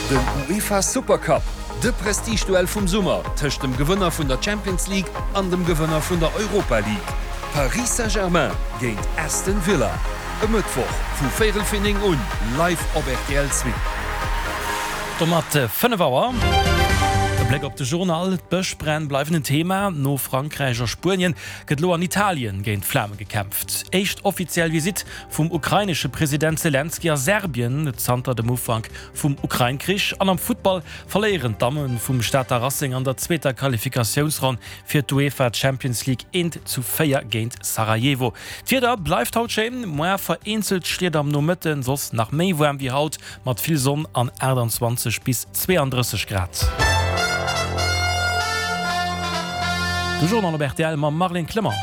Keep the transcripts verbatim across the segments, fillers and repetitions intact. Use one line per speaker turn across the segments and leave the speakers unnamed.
Den UEFA Supercup, de Prestigeduell vum Summer tëscht dem Gewënner vun der Champions League an dem Gewënner vun der Europa League. Paris Saint-Germain géint Aston Villa. E Mëttwoch vu véierel vir néng un, live op rtl zwee.
Domat fënnef Auer. E Bléck op de Journal, D'Bëschbränn bleiwen en Thema. No Frankräich a Spuenien gëtt elo an Italien géint d'Flame gekämpft. Éischt offiziell Visitt vum ukrainesche President Selenskyj a Serbien zanter dem Ufank vum Ukrain-Krich. An am Futtball verléieren d'Damme vum Stater Racing an der zweeter Qualifikatiounsronn fir d'UEFA Champions League eent zu véier géint Sarajevo. D'Wieder bleift haut schéin, muer vereenzelt Schlieder am Nomëtten, soss nach méi waarm wéi haut mat vill Sonn an achttanzwanzeg bis zweeanddrësseg Grad. De Journal op rtl mam Marlène Clement.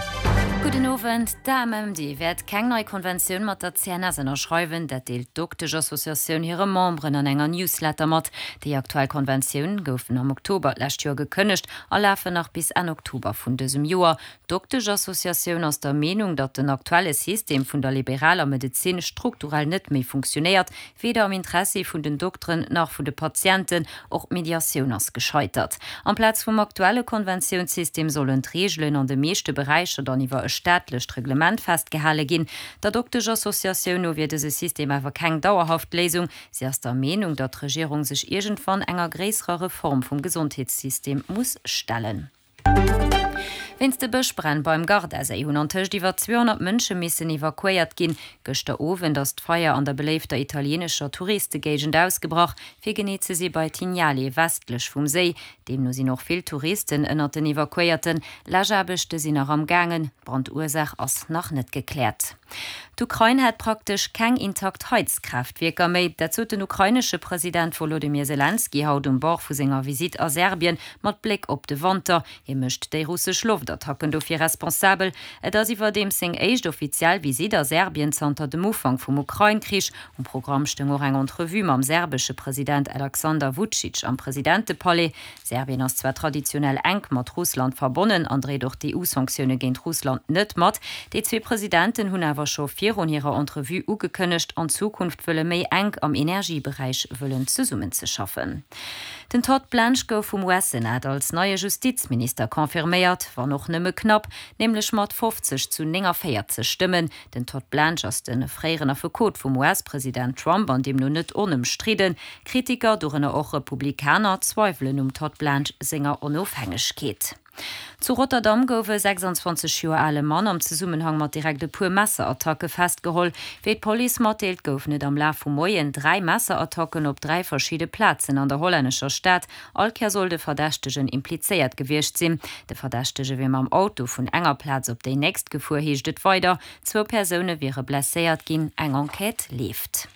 Gudden Owend. D'AMMD wäert keng nei Konventioun mat der C N S ënnerschreiwen. Dat deelt d'Dokteschassociatioun hire Memberen an enger Newsletter mat. Déi aktuell Konventioun goufen am Oktober d'lescht Joer gekënnegt a lafen nach bis Enn Oktober vun dësem Joer. D'Dokteschassociatioun ass der Meenung, datt den aktuelle System vun der liberaler Medezin strukturell net méi funktionéiert, weder am Interessi vun den Dokteren nach vun de Patienten. Och d'Mediatioun ass gescheitert. Amplaz vum aktuelle Konventiounssystem sollen d'Reegelen an de meeschte Beräicher dann iwwer e staatlecht Reglement festgehale ginn. Der Dokteschassociatioun no wier dëse System awer keng dauerhaft Léisung. Si ass der Meenung, datt d'Regierung sech iergendwann enger gréisserer Reform vum Gesondheetssystem muss stellen. Wéinst de Bëschbränn beim Gardaséi hunn antëscht iwwer zweehonnert Mënsche missen evakuéiert ginn. Gëschter Owend ass d'Feier an der beléifter italieenescher Touristegéigend ausgebrach, fir genee ze si bei Tignale, westlech vum Séi. Deemno sinn och vill Touristen ënnert den Evakuéierten. Läschaarbechte sinn nach am gaangen, d'Brandursaach ass nach net gekläert. D'Ukrain hätt praktesch keng intakt Heizkraaftwierker méi. Dat sot den ukrainesche President Wolodymyr Selenskyj haut um Bord vu senger Visitt a Serbien mat Bléck op de Wanter. Hie mécht déi russesch Loftattacken dofir responsabel. Et ass iwwerdeems seng éischt offiziell Visitt a Serbien zanter dem Ufank vum Ukrain-Krich. Um Programm stoung och eng Entrevue mam serbesche President Alexander Vucic am Presidentepalais. Serbien ass zwar traditionell enk mat Russland verbonnen an dréit och d'E U-Sanktioune géint Russland net mat. Déi zwee Presidenten hunn awer scho virun hirer Entrevue ugekënnegt, an Zukunft wëlle méi enk am Energieberäich wëllen zesummenzeschaffen. Den Todd Blanche gouf vum U S-Senat als neie Justizminister confirméiert, wann och nëmme knapp, nämlech mat fofzeg zu néngavéierzeg Stëmmen. Den Todd Blanche ass de fréieren Affekot vum U S-President Trump an deemno net onëmstridden. Kritiker, dorënner och Republikaner, zweiwelen um Todd Blanche senger Onofhängegkeet. Zu Rotterdam gouf e sechsanzwanzeg Joer ale Mann am Zesummenhang mat direkt e puer Messerattacke festgeholl. Wéi d'Police matdeelt, goufen et am Laf vum Moien dräi Messerattacken op dräi verschidde Plazen an der hollännescher Stad. All Kéier soll de Verdächtegen implizéiert gewiescht sinn. De Verdächtege wier mam Auto vun enger Plaz op déi nächst gefuer, heescht et weider. Zwou Persoune wiere blesséiert ginn, eng Enquête leeft.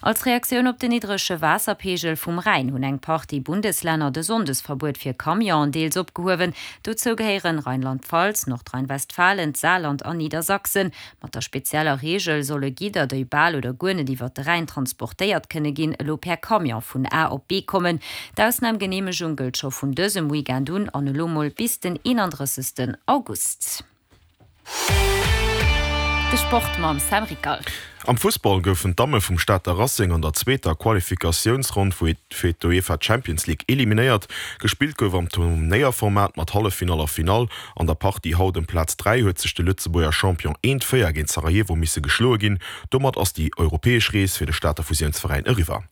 Als Reaktioun op den niddrege Waasserpeegel vum Rhäin hunn eng Partie Bundeslänner de Sonndesverbuet fir Camionen deels opgehuewen. Dozou gehéieren Rheinland-Pfalz, Nordrhein-Westfalen, d'Saarland an Niedersachsen. Mat der spezieller Reegel solle Gidder, déi bal oder guer net iwwer de Rhäin transportéiert kënne ginn, elo per Camion vun A op B kommen. D'Ausnamgeneemegung gëllt scho vun dësem Weekend un an elo mol bis den eenandrëssegsten August. De Sport mam Sam Rickal.
Am Fussball goufen d'Damme vum Stater Racing an der zweeter Qualifikatiounsronn fir d'UEFA Champions League eliminéiert. Gespillt gouf am Turnéierformat mat Halleffinall a Finall. An der Partie haut ëm Plaz dräi huet sech de Lëtzebuerger Champion eent véier géint Sarajevo misse geschloe ginn. Domat ass déi europäesch Rees fir de Stater Fusiounsveräin eriwwer.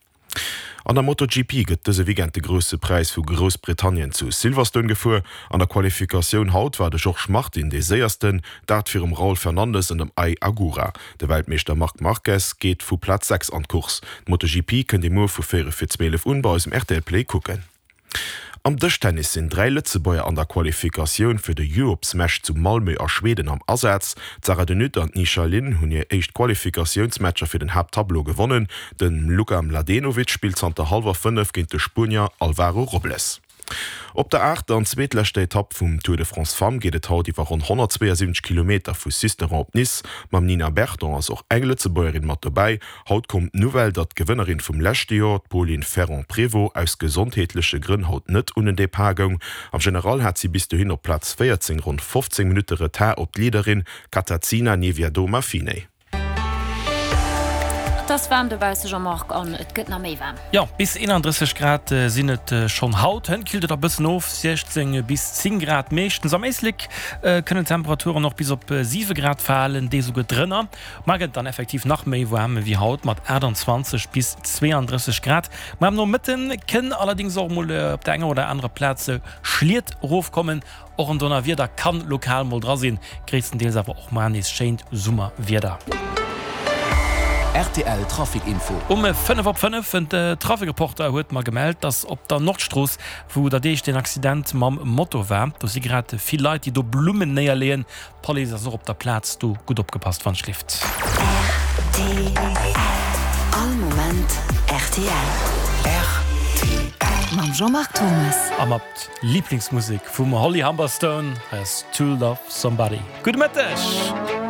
An der MotoGP gëtt dëse Weekend de Grousse Präis vu Groussbritannien zu Silverstone gefuer. An der Qualifikatioun haut war de Jorge Martin dee Séiersten, dat virum Raul Fernandez an dem Ai Ogura. De Weltmeeschter Marc Marquez geet vu Plaz sechs an d'Course. D'MotoGP kënnt Dir muer vu véierel vir zwielef un bei eisem R T L Play kucken. Am Dëschtennis sinn dräi Lëtzebuerger an der Qualifikatioun fir de Europe Smash zu Malmö a Schweden am Asaz. D'Sarah De Nutte an d'Ni Xia Lin hunn hir éischt Qualifikatiounsmatcher fir den Haapttableau gewonnen. De Luka Mladenovic spillt zanter hallwer fënnef géint de Spuenier Alvaro Robles. Op der aachter an zweetleschter Etapp vum Tour de France Femmes geet et haut iwwer ronn honnertzweeënsiwwenzeg Kilometer vu Sisteron op Nice. Mam Nina Berton ass och eng Lëtzebuergerin mat dobäi. Haut koum d'Nouvelle, datt d'Gewënnerin vum leschte Joer, d'Polin Ferrand-Prévot, aus gesondheetleche Grënn haut net un den Depart goung. Am General hat si bis dohin op Plaz véierzéng ronn fofzéng Minutte Retard op d'Leaderin Katarzyna Niewiadoma-Phinney.
Et ass waarm dobausse Jean-Marc an et gëtt nach méi waarm.
Jo, bis eenandrësseg Grad sinn et schonn haut. Hënt killt et e bëssen of, siechzéng bis zéng Grad meeschtens. Am Éislek kënnen d'Temperaturen och bis op siwe Grad falen, deels esouguer drënner. Mar gëtt et dann effektiv nach méi waarm ewéi haut mat aachtanzwanzeg bis zweeandrësseg Grad. Mar am Nomëtte kënn allerdéngs och mol op der enger oder anerer Plaz Schliet erofkommen. Och en Donnerwieder kann lokal mol dra sinn, gréisstendeels awer och mar nees schéint Summerwieder.
Rtl Trafic Info.
Um fënnef op fënnef, en Trafic-Reporter huet mer gemellt, dass op der Nordstrooss, wou der Deeg deen Accident mam Moto war, do si grad vill Leit, déi do Blummen néierleeën. D'Police ass och op der Plaz, do gutt opgepasst wann schlift.
Rtl, All Moment rtl.
Rtl.
Mam Jean-Marc Thomas.
A mat Liblingsmusek vum Holly Humberstone, hei ass To Love Somebody. Gudde Mëtteg!